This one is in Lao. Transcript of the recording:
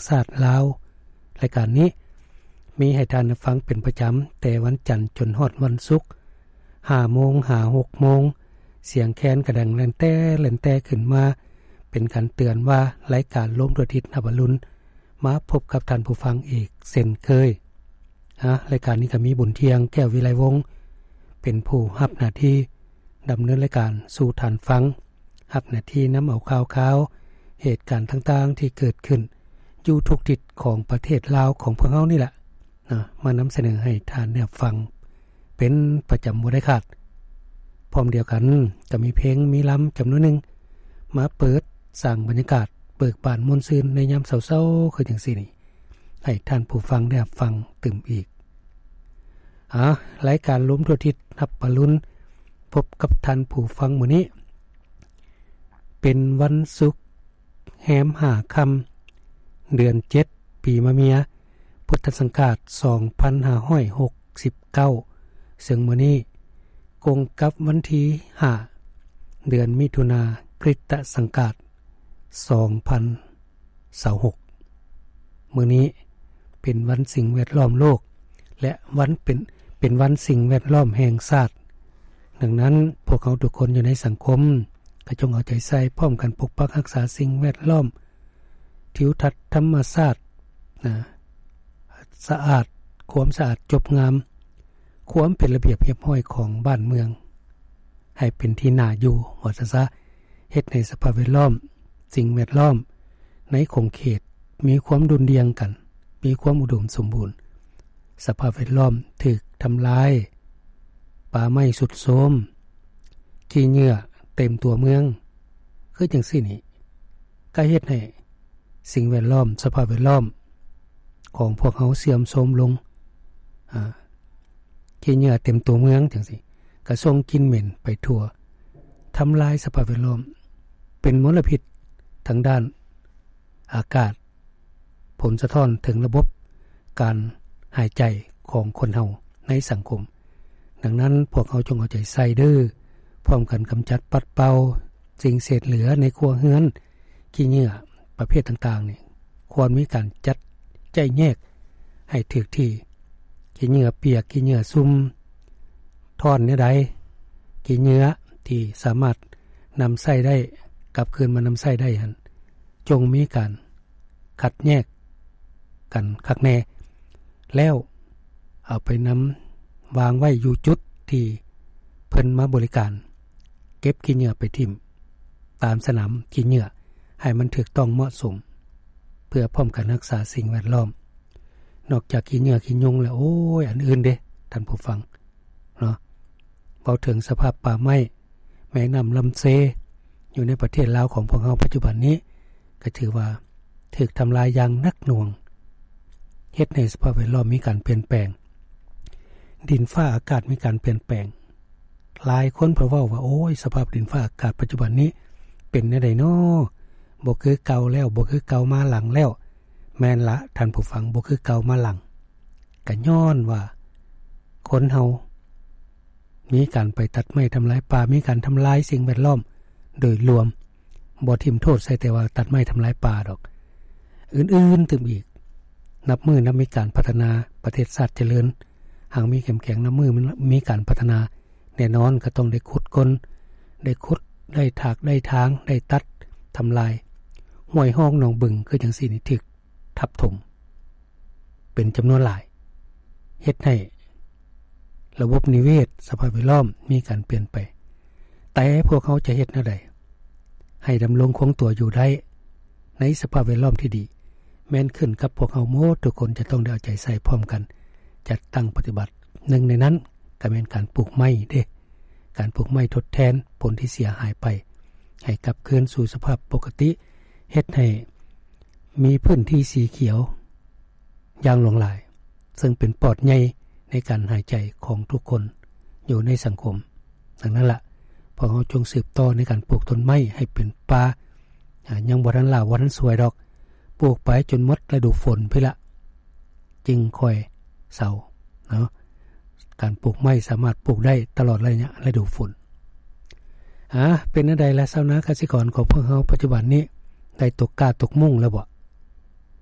ຊາດລາວ. ລາຍການນີ້ມີໃຫ້ທ່ານຮັບຟັງເປັນປະຈຳ ແຕ່ວັນຈັນຈົນຮອດວັນສຸກ ຫ້າໂມງຫາຫົກໂມງ. ສຽງແຄນກະດັງແລ່ນແຕ່ແລ່ນແຕ່ຂຶ້ນມາ ເປັນການເຕືອນວ່າລາຍການໂລມດວງອາທິດຮັບອະລຸນ ມາພົບກັບທ່ານຜູ້ຟັງອີກເຊັ່ນເຄີຍ. ອາ ລາຍການນີ້ກໍມີບຸນທ່ຽງ ແກ້ວວິໄລວົງ ເປັນຜູ້ຮັບໜ້າທີ່ດຳເນີນລາຍການສູ່ທ່ານຟັງ, ຮັບໜ້າທີ່ນຳເອົາຂ່າວຄາວ ເຫດການຕ່າງໆທີ່ເກີດຂຶ້ນຢູ່ທຸກທິດຂອງປະເທດລາວຂອງພວກເຮົານີ້ແຫຼະ ນະ ມານຳສະເໜີໃຫ້ທ່ານໄດ້ຮັບຟັງເປັນປະຈຳບໍ່ໄດ້ຂາດ. ພ້ອມດຽວກັນກໍມີເພງມີລຳຈຳນວນໜຶ່ງ ມາເປີດສ້າງບັນຍາກາດເບີກບານມ່ວນຊື່ນໃນຍາມເຊົ້າໆ ຄືຈັ່ງຊີ້ນີ້ ໃຫ້ທ່ານຜູ້ຟັງໄດ້ຮັບຟັງຕື່ມອີກ. ອາ ລາຍການໂລມດວງອາທິດຮັບອະລຸນ ພົບກັບທ່ານຜູ້ຟັງມື້ນີ້ ເປັນວັນສຸກ ແຮມຫ້າຄ່ຳ ເດືອນເຈັດ ປີມະເມຍ ພຸດທະສັງກາດ ສອງພັນຫ້າຮ້ອຍຫົກສິບເກົ້າ ເຊິ່ງມື້ນີ້ກົງກັບວັນທີຫ້າ ເດືອນມິຖຸນາ ຄຣິສຕະສັງກາດ ສອງພັນຊາວຫົກ. ມື້ນີ້ເປັນວັນສິ່ງແວດລ້ອມໂລກ ແລະ ວັນເປັນ ເປັນວັນສິ່ງແວດລ້ອມແຫ່ງຊາດ. ດັ່ງນັ້ນ ພວກເຮົາທຸກຄົນຢູ່ໃນສັງຄົມ ກໍຈົ່ງເອົາໃຈໃສ່ພ້ອມກັນປົກປັກຮັກສາສິ່ງແວດລ້ອມ, ທິວທັດທຳມະຊາດນະ ສະອາດ, ຄວາມສະອາດຈົບງາມ, ຄວາມເປັນລະບຽບຮຽບຮ້ອຍຂອງບ້ານເມືອງ ໃຫ້ເປັນທີ່ໜ້າຢູ່ ວ່າຊັ້ນຊະ. ເຮັດໃຫ້ສະພາບແວດລ້ອມ, ສິ່ງແວດລ້ອມໃນຂົງເຂດມີຄວາມດຸ່ນດ່ຽງກັນ, ມີຄວາມອຸດົມສົມບູນ. ສະພາບແວດລ້ອມຖືກທຳລາຍ, ປ່າໄມ້ຊຸດໂຊມ, ຂີ້ເຫຍື້ອເຕັມຕົວເມືອງ, ຄືຈັ່ງຊີ້ນີ້ ກໍເຮັດໃຫ້ສິ່ງແວດລ້ອມ, ສະພາບແວດລ້ອມຂອງພວກເຮົາເສື່ອມໂຊມລົງ. ອາ ຂີ້ເຫຍື້ອເຕັມຕົວເມືອງຈັ່ງຊີ້ ກະສົ່ງກິ່ນເໝັນໄປທົ່ວ, ທຳລາຍສະພາບແວດລ້ອມ, ເປັນມົນລະພິດທາງດ້ານອາກາດ, ຜົນສະທ້ອນເຖິງລະບົບການຫາຍໃຈຂອງຄົນເຮົາໃນສັງຄົມ. ດັ່ງນັ້ນ ພວກເຮົາຈົ່ງເອົາໃຈໃສ່ເດີ້, ພ້ອມກັນກຳຈັດປັດເປົ່າສິ່ງເສດເຫຼືອໃນຄົວເຮືອນ, ຂີ້ເຫຍື້ອປະເພດຕ່າງໆນີ້ ຄວນມີການຈັດ ຈະແຍກໃຫ້ຖືກທີ່, ຂີ້ເຫຍື້ອປຽກ, ຂີ້ເຫຍື້ອຊຸ່ມ, ທ້ອນແນວໃດ, ຂີ້ເຫຍື້ອທີ່ສາມາດນຳໃຊ້ໄດ້, ກັບຄືນມານຳໃຊ້ໄດ້ຫັ້ນ, ຈົ່ງມີການຄັດແຍກກັນຄັກແນ່, ແລ້ວເອົາໄປນຳວາງໄວ້ຢູ່ຈຸດທີ່ເພິ່ນມາບໍລິການ. ເກັບຂີ້ເຫຍື້ອໄປຖິ້ມຕາມສະໜາມຂີ້ເຫຍື້ອໃຫ້ມັນຖືກຕ້ອງເໝາະສົມ ເພື່ອພ້ອມກັນຮັກສາສິ່ງແວດລ້ອມ. ນອກຈາກຂີ້ເຫຍື້ອຂີ້ຍຸງແລ້ວ ໂອ້ຍ ອັນອື່ນເດ້ທ່ານຜູ້ຟັງເນາະ, ເວົ້າເຖິງສະພາບປ່າໄມ້ ແມ່ນ້ຳລຳເຊຢູ່ໃນປະເທດລາວຂອງພວກເຮົາປັດຈຸບັນນີ້ ກໍຖືວ່າຖືກທຳລາຍຢ່າງໜັກໜ່ວງ, ເຮັດໃຫ້ສະພາບແວດລ້ອມມີການປ່ຽນແປງ, ດິນຟ້າອາກາດມີການປ່ຽນແປງ. ຫຼາຍຄົນເພິ່ນເວົ້າວ່າ ໂອ້ຍ ສະພາບດິນຟ້າອາກາດປັດຈຸບັນນີ້ເປັນແນວໃດນໍ? ບໍ່ຄືເກົ່າແລ້ວ, ບໍ່ຄືເກົ່າມາຫຼັງແລ້ວ. ແມ່ນລະທ່ານຜູ້ຟັງ, ບໍ່ຄືເກົ່າມາຫຼັງ, ກະຍ້ອນວ່າຄົນເຮົາມີການໄປຕັດໄມ້ທຳລາຍປ່າ, ມີການທຳລາຍສິ່ງແວດລ້ອມໂດຍລວມ. ບໍ່ຖິ້ມໂທດໃສ່ແຕ່ວ່າຕັດໄມ້ທຳລາຍປ່າດອກ, ອື່ນໆຕື່ມອີກ. ນັບມື້ນັບມີການພັດທະນາ, ປະເທດຊາດຈະເລີນ, ຫາກມີເຂັ້ມແຂງ, ນັບມື້ມີການພັດທະນາ, ແນ່ນອນກໍຕ້ອງໄດ້ຂຸດຄົ້ນ, ໄດ້ຂຸດ, ໄດ້ຖາກ, ໄດ້ຖາງ, ໄດ້ຕັດ, ທຳລາຍ. ຫ້ວຍຮ່ອງໜອງບຶງຄືຈັ່ງຊີ້ນີ້ຖືກທັບຖົມເປັນຈຳນວນຫຼາຍ, ເຮັດໃຫ້ລະບົບນິເວດ, ສະພາບແວດລ້ອມມີການປ່ຽນໄປ. ແຕ່ພວກເຮົາຈະເຮັດແນວໃດ ໃຫ້ດຳລົງຄົງຕົວຢູ່ໄດ້ໃນສະພາບແວດລ້ອມທີ່ດີ ແມ່ນຂຶ້ນກັບພວກເຮົາໝົດທຸກຄົນຈະຕ້ອງໄດ້ເອົາໃຈໃສ່ພ້ອມກັນຈັດຕັ້ງປະຕິບັດ. ໜຶ່ງໃນນັ້ນກໍແມ່ນການປູກໄມ້ເດ້, ການປູກໄມ້ທົດແທນຜົນທີ່ເສຍຫາຍໄປ ໃຫ້ກັບຄືນສູ່ສະພາບປົກກະຕິ, ເຮັດໃຫ້ມີພື້ນທີ່ສີຂຽວ ຢ່າງຫຼວງຫຼາຍ, ເຊິ່ງເປັນປອດໃຫຍ່ໃນການຫາຍໃຈຂອງທຸກຄົນຢູ່ໃນສັງຄົມ. ດັ່ງນັ້ນລະ, ພວກເຮົາຈົ່ງສືບຕໍ່ໃນການປູກຕົ້ນໄມ້ໃຫ້ເປັນປ່າ, ອາ, ຍັງບໍ່ທັນຫຼ້າ, ບໍ່ທັນສວຍດອກ, ປູກໄປຈົນໝົດລະດູຝົນພຸ້ນລະ, ຈຶ່ງຄ່ອຍເຊົາເນາະ. ການປູກໄມ້ສາມາດປູກໄດ້ຕະຫຼອດໄລຍະລະດູຝົນ. ອາ, ເປັນແນວໃດລະ ຊາວນາກະສິກອນຂອງພວກເຮົາປັດຈຸບັນນີ້ ໄດ້ຕົກກ້າຕົກມຸ້ງແລ້ວບໍ່?